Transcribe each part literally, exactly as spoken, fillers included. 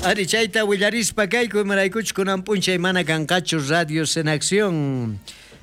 Ari chayta willarispa kayku imaraykuchu kunan p'unchay mana kanqachu Radios en Acción.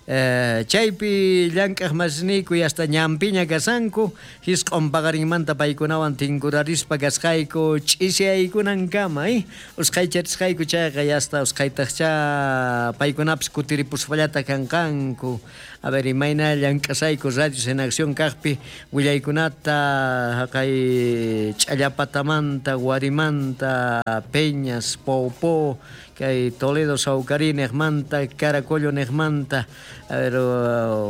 Eh, chaypi llank'aq masniyku hasta ñampiña kasanku hisq'un paqarinmanta paykunawan tinkurarispa kasqayku ch'isiyaykunankama eh? Usqhaycharisqayku chayqa hasta usqhaytaqcha paykunapis kutiripuspallata kanqanku. A ver, imayna llank'asayku Radios en Acción kaqpi willaykunata haqay Ch'allapatamanta, Warimanta, Peñas, Poupó, kay Toledo Saucarí niqmanta, Caracollo niqmanta, a ver,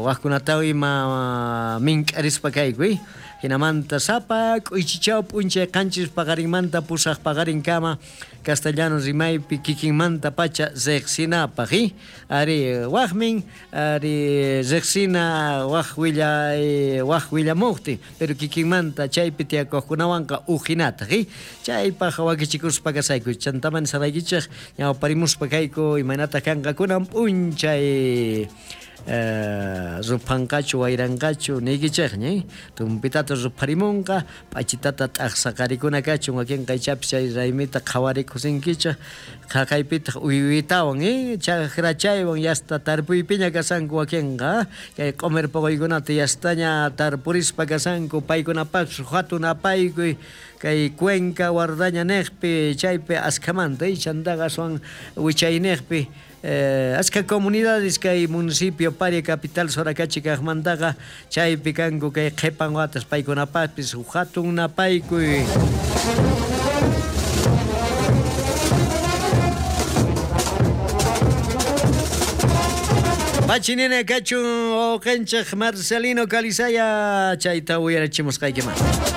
waqkunata ima mink'arispa kayku, eh? Hinamanta sapa k'uychichaw p'unchay qanchis paqarinmanta pusaq paqarinkama castellano rimaypi kikinmanta pacha riqsinapaq, eh? Ari waqmin, ari riqsina waq willay waq willamuqtin, pero kikinmanta chaypi tiyakuqkunawanqa ujinataq, eh? Chaypaq wakichikuspa kasayku, chantaman saraykichej ñawparimuspa kayku imaynataq kanqa kunan p'unchay. Eh, ruphanqachu wayranqachu niykichejña, eh? Tumpitata rupharimunqa p'achitata t'aqsaqarikuna kachun wakinqa ichapis chay raymita qhawarikusinkichej qhaqaypitaq uywitawan, eh? Chajrachaywan yasta tarpuypiña kasanku wakinqa kay q'umir puquykunata yastaña tarpurispa kasanku paykunapaqpis hatun apaykuy kay Cuenca Guardaña niqpi chaypi askhamanta, eh? Chantaqa aswan wichayniypi Eh, aska comunidades kay municipio Paria capital Soracachi kaqmantaqa chaypi kanku kay qhipan watas paykunapaqpis hatun napaykuy. Pachinina kachun uqanchej Marcelino Calizaya chayta uyarachimusqaykiman.